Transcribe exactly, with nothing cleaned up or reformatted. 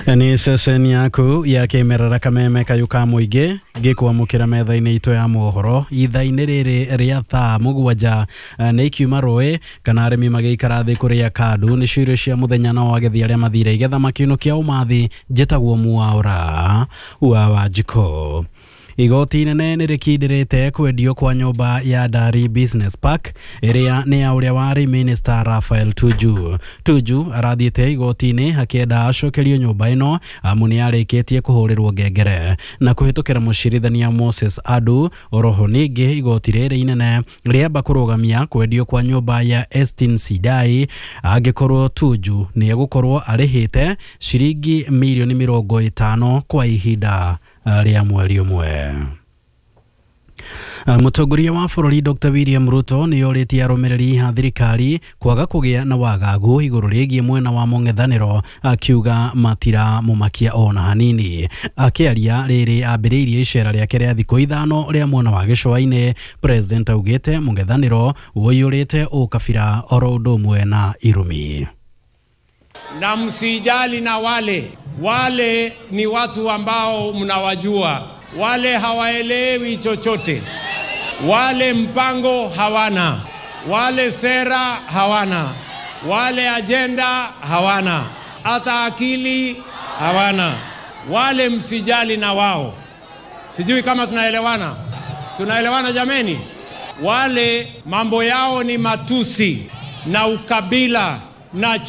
Nĩ ceceni yaku ya kĩmerera Kameme kayũ ka mũingĩ ngĩkwamũkĩra metha-inĩ itũ ya mohoro ithaa-inĩ rĩrĩ rĩa thaa mũgwanja. Nĩ ikiuma rũĩ kana arĩmi magĩikara thĩ kũrĩa kandu nĩcio irio cia mũthenya, nao agethi arĩa mathire igetha makĩinũkia ũmathi. Njĩtagwo Mwaũra wa Wanjikũ. Igoti inene nĩ rĩkindĩrĩte kwendio kwa nyũmba ya Dari Business Park ĩrĩa nĩ ya ũrĩa warĩ minister Raphael Tuju. Tuju arathiĩte igoti-inĩ akĩenda acokerio nyũmba ĩno amu nĩ arĩkĩtie kũhũrĩrwo ngengere na kũhĩtũkĩra mũcirithania Moses Adu. Oroho ningĩ igoti rĩrĩ inene rĩamba kũrũgamia kwendio kwa nyũmba ya Estin Sidai angĩkorwo Tuju nĩ egũkorwo arĩhĩte ciringi mirioni mĩrongo ĩtano kwa ihinda rĩa mweri ũmwe. Mũtongoria wa bũrũri Doctor William Ruto nĩ orĩtie arũmĩrĩri a thirikari kwaga kũgĩa na wagagu igũrũ rĩgiĩ mwena wa mũng'ethanĩro, akiuga matiramũmakia ona hanini. Akĩaria rĩrĩ ambĩrĩirie icera rĩake rĩa thikũ ithano rĩa mwena wa gĩcũa-inĩ, President augĩte mũng'ethanĩro ũiyũrĩte ũkabira oro ũndũ ũmwe na irumi. Na msijali na wale wale ni watu ambao mnawajua, wale hawaelewi chochote, wale mpango hawana, wale sera hawana, wale ajenda hawana, hata akili hawana, wale msijali na wao. Sijui kama tunaelewana. Tunaelewana jameni? Wale mambo yao ni matusi na ukabila na chu